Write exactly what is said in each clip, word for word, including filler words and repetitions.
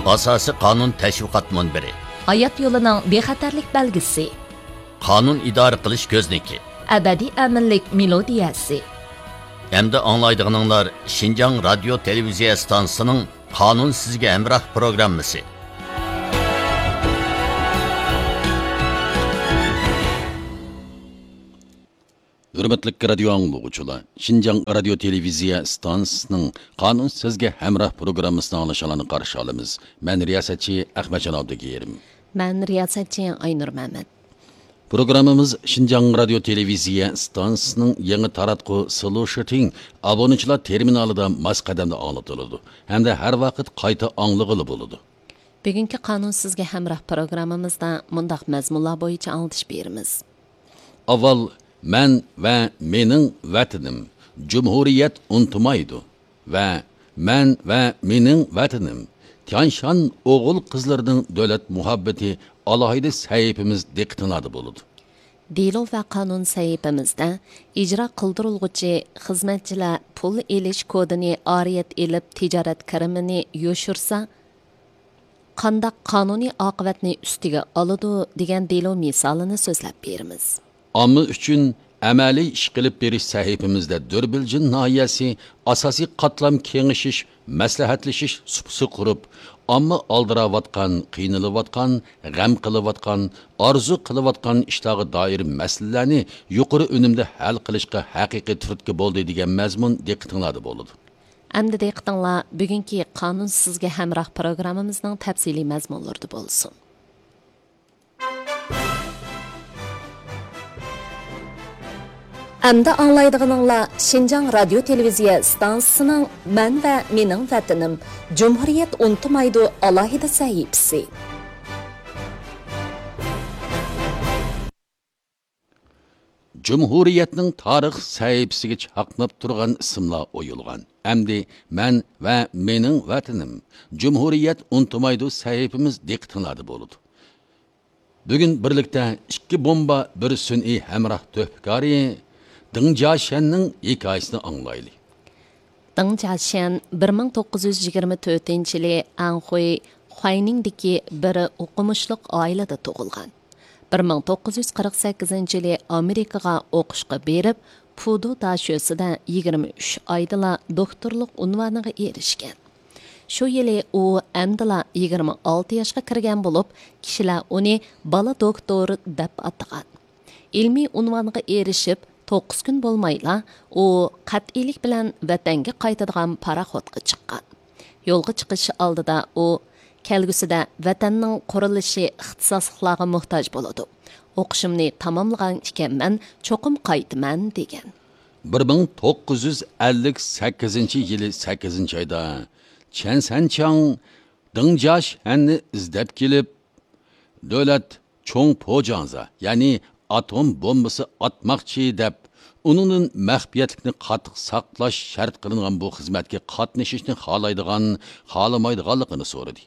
ئاساسىي قانۇن تەشۋىقات مۇنبىرى. ھايات يولىنىڭ بىخەتەرلىك بەلگىسى. قانۇن ئىدارە قىلىش كۆزنىكى. ئەبەدىي ئەمىنلىك مېلودىيەسى. ئەمدى ئاڭلايدىغىنىڭلار شىنجاڭ رادىيو تېلېۋىزىيە ئىستانسىسىنىڭ قانۇن سىزگە ھەمراھ پروگراممىسى. ھۆرمەتلىك رادىيو ئاڭلىغۇچىلار، شىنجاڭ رادىيو تېلېۋىزىيە ئىستانسىسىنىڭ قانۇن سىزگە ھەمراھ پروگراممىسىنى ئاڭلىشىڭلارنى قارشى ئالىمىز. مەن رىياسەتچى ئەخمەتجان ئابدۇكېرىم. مەن رىياسەتچى ئاينۇر مەمەت. پروگراممىمىز شىنجاڭ رادىيو تېلېۋىزىيە ئىستانسىسىنىڭ يېڭى تاراتقۇ سلوشىتىڭ ئابۇنىچىلار تېرمىنالىدا ماس قەدەمدە ئاڭلىتىلىدۇ ھەمدە ھەر ۋاقىت قايتا ئاڭلىغىلى بولىدۇ. بۈگۈنكى قانۇن سىزگە ھەمراھ پروگراممىمىزدا مۇنداق مەزمۇنلار بويىچە ئاڭلىتىش بېرىمىز. ئاۋۋال مەن ۋە مېنىڭ ۋەتىنىم، جۇمھۇرىيەت ئۇنتۇمايدۇ ۋە مەن ۋە مېنىڭ ۋەتىنىم، تيانشان ئوغۇل-قىزلىرىنىڭ دۆلەت مۇھەببىتى ئالاھىدە سەھىپىمىز دىققىتىڭلاردا بولىدۇ. دېلو ۋە قانۇن سەھىپىمىزدە ئىجرا قىلدۇرۇلغۇچى خىزمەتچىلەر پۇل ئېلىش كودىنى ئارىيەت ئېلىپ تىجارەت كىرىمىنى يوشۇرسا، قانداق قانۇنىي ئاقىۋەتنى ئۈستىگە ئالىدۇ دېگەن دېلو مىسالىنى سۆزلەپ بېرىمىز. ئامما ئۈچۈن ئەمەلىي ئىش قىلىپ بېرىش سەھىپىمىزدە دۆربىلجىن ناھىيەسى ئاساسىي قاتلام كېڭىشىش، مەسلىھەتلىشىش سۇپىسى قۇرۇپ، ئامما ئالدىراۋاتقان، قىينىلىۋاتقان، غەم قىلىۋاتقان، ئارزۇ قىلىۋاتقان ئىشلارغا دائىر مەسىلىلەرنى يۇقىرى ئۈنۈمدە ھەل قىلىشقا ھەقىقىي تۈرتكە بولدى دېگەن مەزمۇن دىققىتىڭلاردا بولىدۇ. ئەمدى دىققىتىڭلار بۈگۈنكى قانۇن سىزگە ھەمراھ پروگراممىمىزنىڭ تەپسىلىي مەزمۇنلىرىدا بولسۇن. ئەمدى ئاڭلايدىغىنىڭلار شىنجاڭ رادىيو تېلېۋىزىيە ئىستانسىسىنىڭ مەن ۋە مېنىڭ ۋەتىنىم، جۇمھۇرىيەت ئۇنتۇمايدۇ ئالاھىدە سەھىپىسى. جۇمھۇرىيەتنىڭ تارىخ سەھىپىسىگە چاقناپ تۇرغان ئىسىملار ئويۇلغان. ئەمدى مەن ۋە مېنىڭ ۋەتىنىم، جۇمھۇرىيەت ئۇنتۇمايدۇ سەھىپىمىز دىققىتىڭلاردا بولىدۇ. بۈگۈن بىرلىكتە ئىككى بومبا، بىر سۈنئىي ھەمراھ تۆھپىكارى دېڭ جياشيەننىڭ ھېكايىسىنى ئاڭلايلى. دېڭ جياشيەن بىر مىڭ توققۇز يۈز يىگىرمە تۆتىنچى يىلى ئەنخۇي، خۇەينىڭدىكى بىر ئوقۇمۇشلۇق ئائىلىدە تۇغۇلغان. بىر مىڭ توققۇز يۈز قىرىق سەككىزىنچى يىلى ئامېرىكىغا ئوقۇشقا بېرىپ، پۇدۇ داشۆسىدە يىگىرمە ئۈچ ئايدىلا دوكتورلۇق ئۇنۋانىغا ئېرىشكەن. شۇ يىلى ئۇ ئەمدىلا يىگىرمە ئالتە ياشقا كىرگەن بولۇپ، كىشىلەر ئۇنى بالا دوكتور دەپ ئاتىغان. ئىلمىي ئۇنۋانغا ئېرىشىپ، توققۇز كۈن بولمايلا، ئۇ قەتئىيلىك بىلەن ۋەتەنگە قايتىدىغان پاراخوتقا چىققان. يولغا چىقىش ئالدىدا ئۇ، كەلگۈسىدە ۋەتەننىڭ قۇرۇلۇشى ئىختىساسلىقلارغا موھتاج بولىدۇ. ئوقۇشۇمنى تاماملىغان ئىكەنمەن، چوقۇم قايتىمەن، دېگەن. بىر مىڭ توققۇز يۈز ئەللىك سەككىزىنچى يىلى سەككىزىنچى ئايدا چەن سەنچاڭ دېڭ جياشيەننى ئىزدەپ كېلىپ، دۆلەت چوڭ پوجاڭزا، يەنى ئاتوم بومبىسى ئاتماقچى دەپ، ئۇنىڭدىن مەخپىيەتلىكنى قاتتىق ساقلاش شەرت قىلىنغان بۇ خىزمەتكە قاتنىشىشنى خالايدىغان، خالىمايدىغانلىقىنى سورىدى.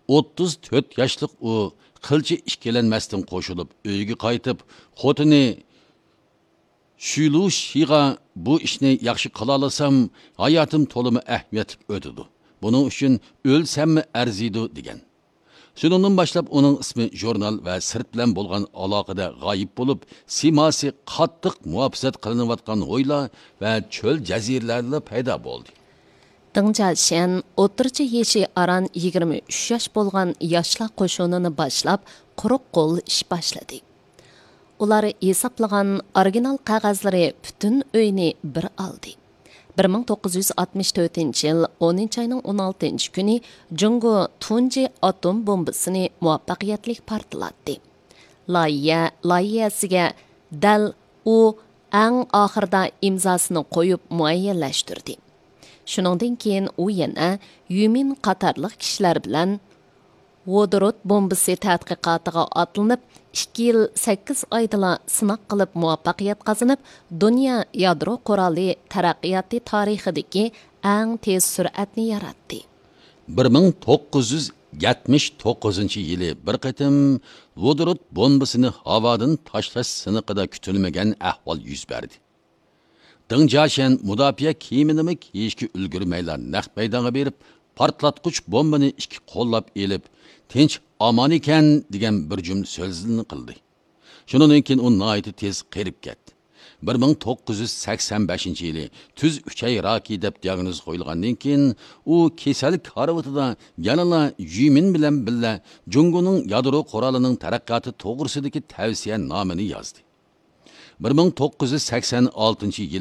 ئوتتۇز تۆت ياشلىق ئۇ قىلچە ئىككىلەنمەستىن قوشۇلۇپ، ئۆيىگە قايتىپ، خوتۇنى شۈلۇشىغا، «بۇ ئىشنى ياخشى قىلالىسام، ھاياتىم تولىمۇ ئەھمىيەتلىك ئۆتىدۇ. بۇنىڭ ئۈچۈن ئۆلسەممۇ ئەرزىيدۇ» دېگەن. شۇنىڭدىن باشلاپ ئۇنىڭ ئىسمى ژۇرنال ۋە سىرت بىلەن بولغان ئالاقىدە غايىب بولۇپ، سىيماسى قاتتىق مۇھاپىزەت قىلىنىۋاتقان ھويلا ۋە چۆل جەزىرىلەردىلا پەيدا بولدى. دېڭ جياشيەن ئوتتۇرىچە يېشى ئاران يىگىرمە ئۈچ ياش بولغان ياشلار قوشۇنىنى باشلاپ، قۇرۇق قول ئىش باشلىدى. ئۇلار ھېسابلىغان ئورىگىنال قەغەزلىرى پۈتۈن ئۆينى بىر ئالدى. بىر مىڭ توققۇز يۈز ئاتمىش تۆتىنچى يىل ئونىنچى ئاينىڭ ئون ئالتىنچى كۈنى جۇڭگو تۇنجى ئاتوم بومبىسىنى مۇۋەپپەقىيەتلىك پارتلاتتى. لايىھە لايىھەسىگە دەل ئۇ ئەڭ ئاخىرىدا ئىمزاسىنى قويۇپ مۇئەييەنلەشتۈردى. شۇنىڭدىن كېيىن ئۇ يەنە يۈمىن قاتارلىق كىشىلەر بىلەن ۋودورود بومبىسى تەتقىقاتىغا ئاتلىنىپ، ئىككى يىل سەككىز ئايدىلا سىناق قىلىپ مۇۋەپپەقىيەت قازىنىپ، دۇنيا يادرو قورالى تەرەققىياتى تارىخىدىكى ئەڭ تېز سۈرئەتنى ياراتتى. بىر مىڭ توققۇز يۈز يەتمىش توققۇزىنچى يىلى بىر قېتىم ۋودورود بومبىسىنى ھاۋادىن تاشلاش سىنىقىدا كۈتۈلمىگەن ئەھۋال يۈز بەردى. دېڭ جياشيەن مۇداپىئە كىيىمىنىمۇ كىيىشكە ئۈلگۈرمەيلا نەق مەيدانغا بېرىپ، پارتلاتقۇچ بومبىنى ئىككى قوللاپ ئېلىپ، تىنچ ئامان ئىكەن دېگەن بىر جۈملە سۆزلىرىنى قىلدى. شۇنىڭدىن كېيىن ئۇ ناھايىتى تېز قېرىپ كەتتى. بىر مىڭ توققۇز يۈز سەكسەن بەشىنچى يىلى تۈز ئۈچەي راكى دەپ دىئاگنوز قويۇلغاندىن كېيىن، ئۇ كېسەل كارىۋىتىدا يەنىلا يۈمىن بىلەن بىللە جۇڭگونىڭ يادرو قورالىنىڭ تەرەققىياتى توغرىسىدىكى تەۋسىيە نامىنى يازدى. بىر مىڭ توققۇز يۈز سەكسەن ئالتىنچى يىلى